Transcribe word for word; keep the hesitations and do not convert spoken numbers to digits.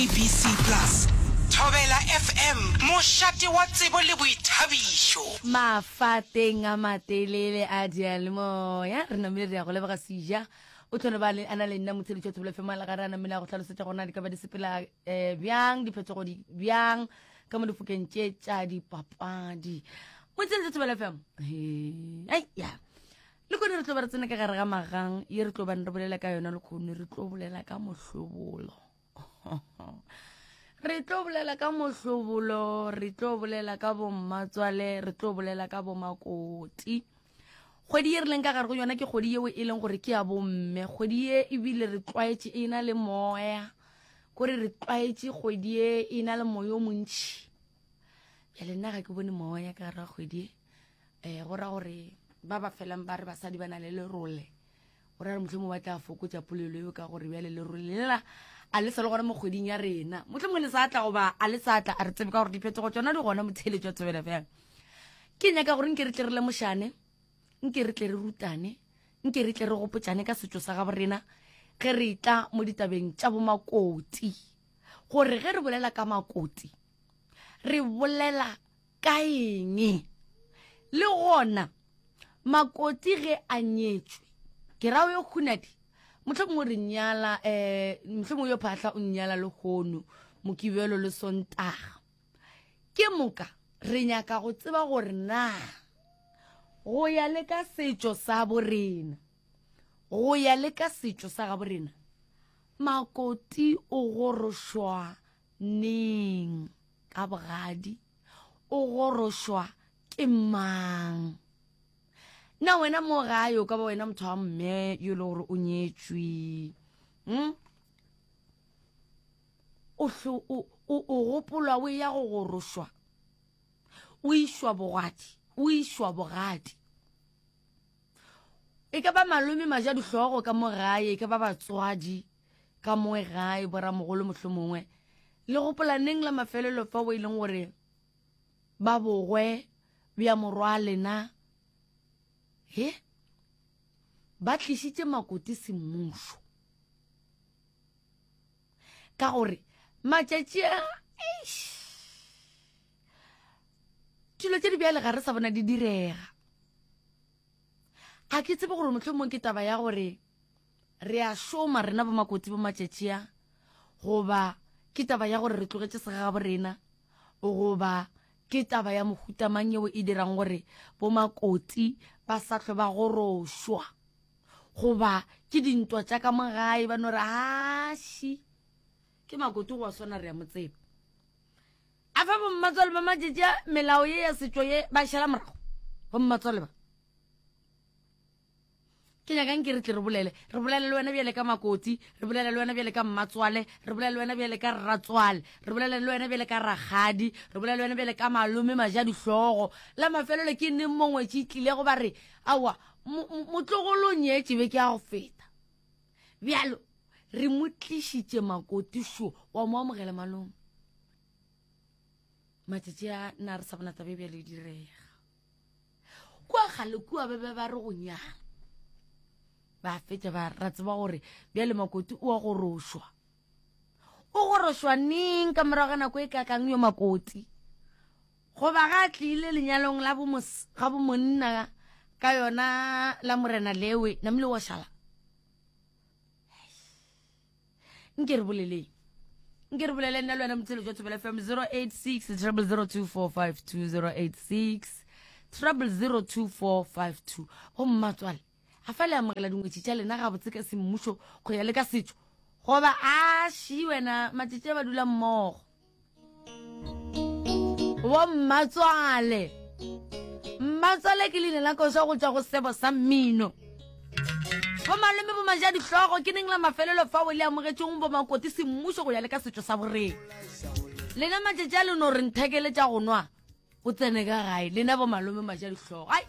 S A B C Plus. Thobela F M, mošate wa tsebo le boithabišo. Mafateng a matelele a diyalemoya, re namile re ya go leboga seja o tlhone ba a na le nna motsheletšo wa Thobela F M a le gare a namile a go hlalosetša gore na di ka ba di sepela um bjang, diphetogo di bjang ka mo difokeng tše tša dipapadi. Motsheletšo Thobela F M, ai ya le kone re tlo ba re tsena ka gare ga magang ye re tlo bane re bolela ka yona lekgono. Re tlo bolela ka mohlobolo, re tlo bolela ka mohlobolo, re tlo bolela ka bommatswale, re tlo bolela ka bomakoti. Kgwedi ye re leng ka gare go yona ke kgwedi yeo e leng gore ke ya bomme. Kgwedi ye ebile re tlwaetše e na le moya, kore re tlwaetše kgwedi ye e na le moya o montšhi. Bjale nna ga ke bone moya ka gare ga kgwedi ye. um go ra gore ba ba felang ba re basadi ba na le lerole, go ra re mohlomongwe ba tla fokotša polelo eo, ka gore bjale lerole lela a le sa le gona mo kgweding ya rena. Mohlomongwe le sa tla goba a le sa tla, a re tsebe, ka gore diphetogo tsona di gona. Motheletšo wa Thobela fela, ke nyaka gore nke re tle re lemošane, nke re tle re rutane, nke re tle re gopotšane ka setšo sa gabo rena ge re tla mo ditabeng tša bomakoti, gore ge re bolela ka makoti re bolela ka eng, le gona makoti ge a nyetšwe, ke ra yo khunadi, mohlomongwe re nyala um mohlomongwe yo phahla o nyala lehono Mokibelo le Sontaga. Ke moka re nyaka go tseba gore na go ya le ka setšo sa borena, go ya le ka setšo sa gabo rena, makoti o gorošwa neng ka bogadi, o gorošwa ke mang? Na wena mo gae o ka ba wena motho wa mme yo e le gore o nyetšwe, hmm? o o gopolwa o ya go gorošwa, o išwa bogadi, o išwa bogadi, e ka ba malome maja dihlogo ka mo gae, e ka ba batswadi ka mo gae, boramogolo mohlomongwe, le gopola neng la mafelelo fa o e leng gore ba bogwe bja morwa lena he ba tlišitše makoti semmušo? Ka gore matšatši a dilo tše di bjale ga re sa bona di direga. Ga ke tsebe gore mohlomongwe ke taba ya gore re a šoma rena bomakoti bo matšatši a, goba ke taba ya gore re tlogetše segagabo rena, goba ke taba ya mohutamang yeo e dirang gore bomakoti ba sa hlwe ba gorošwa, goba ke dintwa tša ka mo gae ba no re aši ke makoti go wa swana re ya mo tseba. A fa bommatswale ba matšatši a melao ye ya setšo ye ba šala morago? Bommatswale ba ke nyakang ke re tle re bolele, re bolele le wena bjale ka makoti, re bolele le wena bjale ka mmatswale, re bolele le wena bjale ka rratswale, re bolele le wena bjale ka rakgadi, re bolele le wena bjale ka malome maja dihlogo. La mafelelo ke neng mongwe tše tlilego ba re aowa, motlogolo o nyetše be ke ya go feta, bjalo re mo tlišitše makoti šo wa mo amogela malome? Matšatši a na re sa bona tabe bjale e direga. Kua kgale kua ba be ba re go nyala ba fetša ba ra tseba gore bjale makoti o a gorošwa. O gorošwa neng, ka morago ga nako e kakang yo makoti, goba ga a tlile lenyalong la ga bomonna ka yona la morena lewe namile wa šala? Nke re boleleng, nke re bolele nna le wena motsheletso wa Thobela F M, zero eight six zero zero two four five two, zero eight six zero zero two four five two. Go mmatswale, a fa le amogela dingwetši tša lena gabotse ka semmušo go ya le ka setšo, goba a ši wena matšatši a ba dula mmogo? Bo mmatswale, mmatswale ke leina la koša go tšwa go sebo sa mmino. Bo malome bo maja dihlogo, ke neng la mafelelo fa o le amogetšeng bo makoti semmušo go ya le ka setšo sa boreng? Lena matšatši a le no re nthekele tša go nwa o tsene ka gae, lena bo malome maja dihlogo, ai.